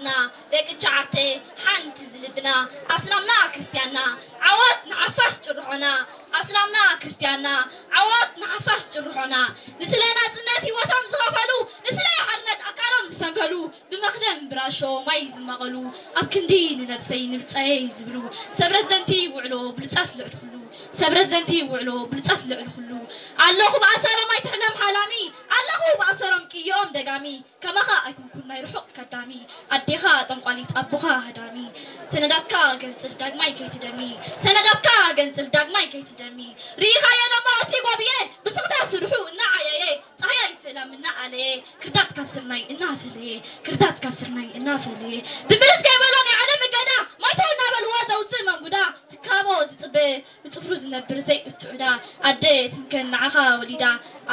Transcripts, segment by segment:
ና ደቂ ቻዓተ ሓንቲ ዝልብና ኣስላምና ክርስትያንና ዓወት ንሓፋሽ ጭርሖና ኣስላምና ክርስትያንና ዓወት ንሓፋሽ ጭርሖና ንስለ ናጽነት ህይወቶም ዝኸፈሉ ንስለ ሓርነት ኣካሎም ዝሰንከሉ ብመኽደም ብራሾ ማይ ዝማቐሉ ኣብ ክንዲ ንነብሰይ ንብልጸየይ ዝብሉ ሰብ ረዘንቲ ውዕሎ ብሉጻት ልዕሊ ኩሉ ሰብ ረዘንቲ ውዕሎ ብሉጻት ልዕሊ ኩሉ ኣለኹ ብኣሰሮም ኣይትሕለም ሓላሚ ኣለኹ ብኣሰሮም ቅይኦም ደጋሚ ከማኻ ኣይኮንኩን ናይ ርሑቕ ከዳሚ ኣዴኻ ጠንቋሊት ኣቦኻ ሃዳሚ ሰነዳትካ ገንጽል ዳግማይ ከይትደሚ ሰነዳትካ ገንጽል ዳግማይ ከይትደሚ ርኢኻዮ ደሞ እቲ ጎብየ ብስቕታ ስርሑ እናዓየየ ጻህያይ ሰላም እናኣለየ ክርታት ካብ ስርናይ እናፈለየ ክርታት ካብ ስርናይ እናፈለየ ድምርት ከይበሎ ናይ ዓለም እገዳ ማይቶ እናበልዎ ዘውፅእ መንጉዳ ትካቦ ዝፅበ ብጽፍሩ ዝነብር ዘይእቱ ዕዳ ኣደ ትምከን ንዓኻ ወሊዳ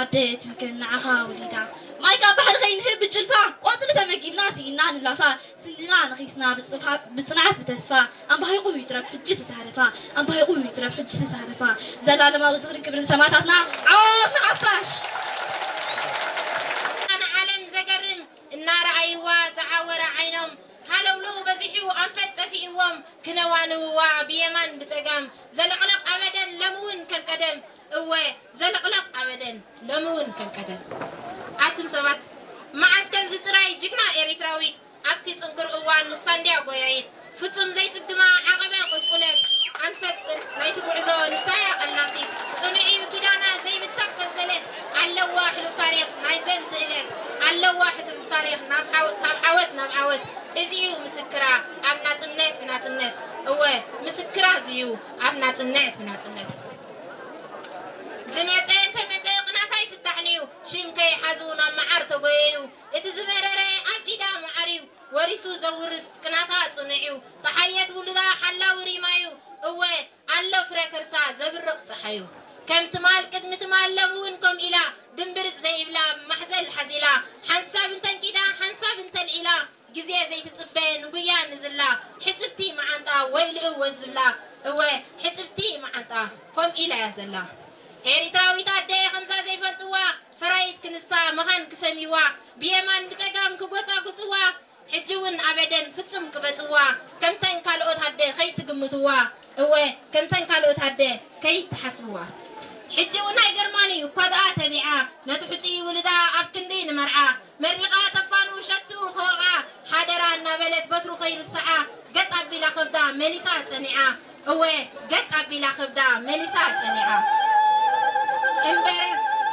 ኣደ ትምከን ንዓኻ ወሊዳ ማይ ካብ ባሕሪ ከይንህብ ብጭልፋ ቆጽሊ ተመጊብና ስኢና ንላፋ ስንድና ነኺስና ብጽንዓት ብተስፋ ኣምባሂቑ ይትረፍ ሕጂ ተሳረፋ ኣምባሂቑ ይትረፍ ሕጂ ተሳረፋ ዘላለማዊ ዝኽርን ክብርን ሰማእታትና ዓወት ንሓፋሽ ንዓለም ዘገርም እናረኣይዋ ዝዓወረ ዓይኖም ሃለውለው በዚሑ ኣንፈት ጠፊእዎም ክነዋንውዋ ብየማን ብጸጋም ዘለቕለቕ ኣበደን ሎምውን ከም ቀደም እወ ዘለቕለቕ ኣበደን ሎምውን ከም ቀደም ኣቱም ሰባት መዓስ ከምዚ ጥራይ ጅግና ኤሪትራዊት ኣብቲ ጽንኩር እዋን ንሳ እንድያ ጎያይት ፍጹም ዘይጽግማ ዓቐበ ቁልቁለት ኣንፈት ናይቲ ጉዕዞ ንሳያ ቀላሲት ጽኑዕ እዩ ኪዳና ዘይብተኽ ሰንሰለት ኣለዋ ሕሉፍ ታሪኽ ናይዘን ትእለት ኣለዋ ሕሉፍ ታሪኽ ካብ ዓወት ናብ ዓወት እዚዩ ምስክራ ኣብ ናጽነት ብናጽነት እወ ምስክራ እዚዩ ኣብ ናጽነት ብናጽነት ዝመጸ እንተመጸ ቅናታ ይፍታሕንዩ ሽም ከይሓዙ ናብ መዓር ተጎየዩ እቲ ዝመረረ ኣብ ኢዳ መዓርዩ ወሪሱ ዘውርስ ቅናታ ጽኑዕዩ ተሓየት ውሉዳ ሓላዊ ሪማዩ እወ ኣሎ ፍረ ከርሳ ዘብርቕ ጸሓዩ ከም ትማል ቅድሚ ትማል ሎም እውን ከም ኢላ ድምብርጽ ዘይብላ ማሕዘል ሓዚላ ሓንሳብ እንተንቂዳ ሓንሳብ እንተልዒላ ግዜ ዘይትጽበ ንጉያ ንዝላ ሕጽብቲ መዓንጣ ወይ ልእወ ዝብላ እወ ሕጽብቲ መዓንጣ ከም ኢላ እያ ዘላ ኤሪትራዊት ኣደ ከምዛ ዘይፈልጥዋ ፈራይት ክንሳ መኻን ክሰሚዋ ብየማን ብጸጋም ክጎጻጉጽዋ ሕጂ እውን ኣበደን ፍጹም ክበጽዋ ከምተን ካልኦት ኣደ ከይትግምትዋ እወ ከምተን ካልኦት ኣደ ከይትሓስብዋ ሕጂ እውን ኣይገርማን እዩ እኳ ደኣ ተቢዓ ነቲ ሕጹይ ውልዳ ኣብ ክንዲ ንመርዓ መሪቓ ተፋኑ ሸቱ ክወቕዓ ሓደራ እናበለት በትሩ ከይርስዓ ገጥ ኣቢላ ከብዳ መሊሳ ጸኒዓ እወ ገጥ ኣቢላ ከብዳ መሊሳ ጸኒዓ እምበር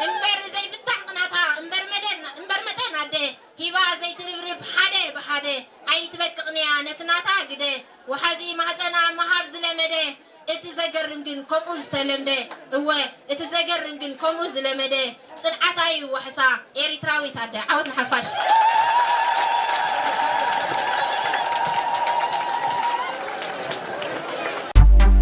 እምበር ዘይፍታሕ ቅናታ እምበር መደን እምበር መጠን ኣደ ሂባ ዘይትርብርብ ሓደ ብሓደ ኣይትበቅቕንያ ነቲ ናታ ግደ ወሓዚ ማህፀና ምሃብ ዝለመደ እቲ ዘገርም ግን ከምኡ ዝተለምደ እወ እቲ ዘገርም ግን ከምኡ ዝለመደ ጽንዓታ እዩ ዋሕሳ ኤሪትራዊት ኣደ ዓወት ንሓፋሽ